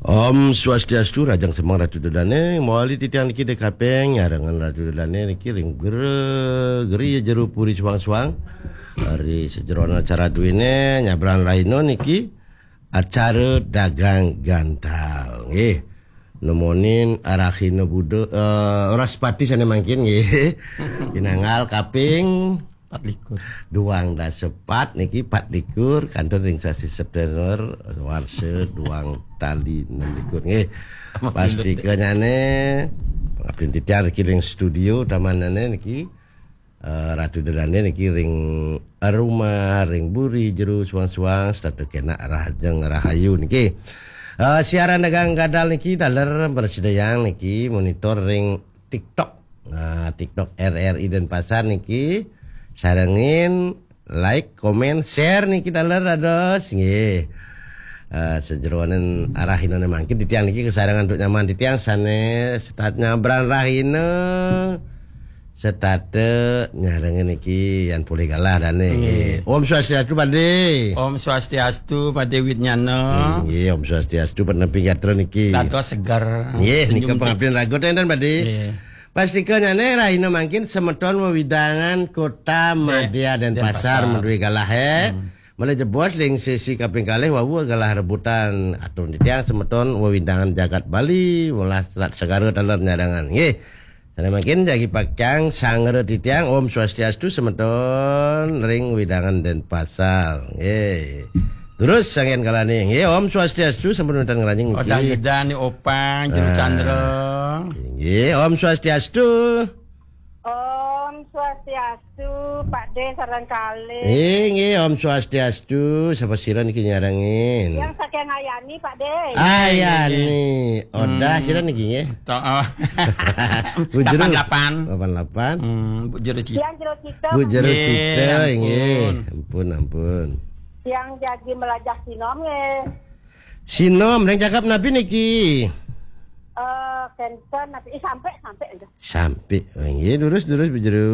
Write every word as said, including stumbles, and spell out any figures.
Om Swastiastu, rahajeng semeng Ratu Dedane, mawali titiang niki dek kaping, nyarengan Ratu Dedane niki ring gere, geri jero puri suang-suang. Ri sajeroning acara duene, nyabran rahina niki, acara dagang gantal. Nggih. Nemonin rahina Buda, eh, Wraspati sane mangkin, nggih. Pinanggal kaping Patlikur. Duang dasa pat niki patlikur, kantun ring sasi September, warsa duang tali enam likur. Nggih. Pastikanyane, pangabdin titiang niki ring studio, tamanane niki, eh, Ratu Dedane niki ring rumah, ring buri, jero, suang-suang, setata kenak rahajeng rahayu niki. Eh, siaran dagang gadal niki, taler mrasidayang niki monitor ring TikTok. Nah, TikTok R R I Denpasar niki sarengin like, komen, share niki taler dados nggih. Eh, sajeroning rahinane mangkin titiang niki kasarengan antuk nyaman titiang sane setata nyabran rahina, setata nyarengin niki yan polih galah dane nggih. Nggih. Om Swastiastu, Pade. Om Swastiastu, Pade Widnyana. Nggih, Om Swastiastu, penepi gatra niki. Dados seger. Nggih, senyum nika pengabdian raga enten, Pade. Nggih. Pastikanyane rahina mangkin semeton wewidangan Kota Madya Denpasar, Denpasar. Madué galah, eh. Hmm. Malih jebos ring sesi kaping kalih wau galah rebutan atur titiang semeton wewidangan jagat Bali, welas Selat Segara taler nyarengan. Nggih. Sane mangkin jagi pakyang sangra titiang, Om Swastiastu semeton ring wewidangan Denpasar. Nggih. Terus sanggen kalane. Nggih, Om Swastiastu sampun wénten ngranjing niki. Odah Yudan ni Opang, Jero Ah. Chandra. Nggih, Om Swastiastu. Om Swastiastu, Pak De sareng kalih. Eh, nggih, Om Swastiastu. Sapa sira niki nyarengin? Yang saking Ayani, Pak De. Ayani. Odah Hmm. sira niki nggih. To, oh. Bu Jero. Delapan delapan. Delapan delapan. Hmm, Bu Jero Cita. Yang Jero Cita. Bu Jero Nggih, Cita, ampun. Nggih. Ampun, ampun. Yang jagi melajah sinom nggih. Sinom, ring cakap napi niki? Eh, kenten napi? Eh, sampai, sampai aja. Sampai. Oh, nggih, durus, durus, Bu Jero.